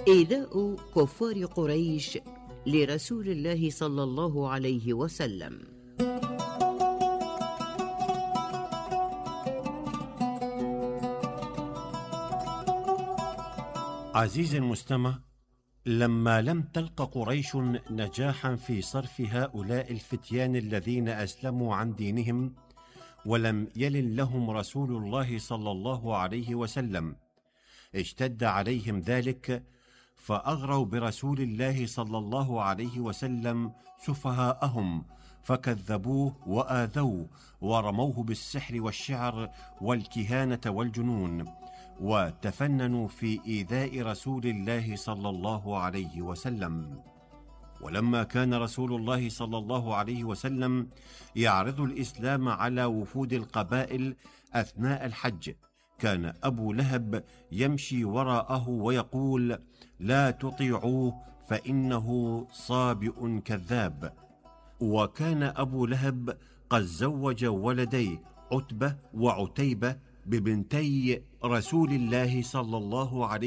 إيذاء كفار قريش لرسول الله صلى الله عليه وسلم. عزيزي المستمع، لما لم تلق قريش نجاحا في صرف هؤلاء الفتيان الذين أسلموا عن دينهم، ولم يلن لهم رسول الله صلى الله عليه وسلم، اشتد عليهم ذلك، فأغروا برسول الله صلى الله عليه وسلم سفهاءهم، فكذبوه وآذوه ورموه بالسحر والشعر والكهانة والجنون، وتفننوا في إيذاء رسول الله صلى الله عليه وسلم. ولما كان رسول الله صلى الله عليه وسلم يعرض الإسلام على وفود القبائل أثناء الحج، كان أبو لهب يمشي وراءه ويقول: لا تطيعوه فإنه صابئ كذاب. وكان أبو لهب قد زوج ولديه عتبة وعتيبة ببنتي رسول الله صلى الله عليه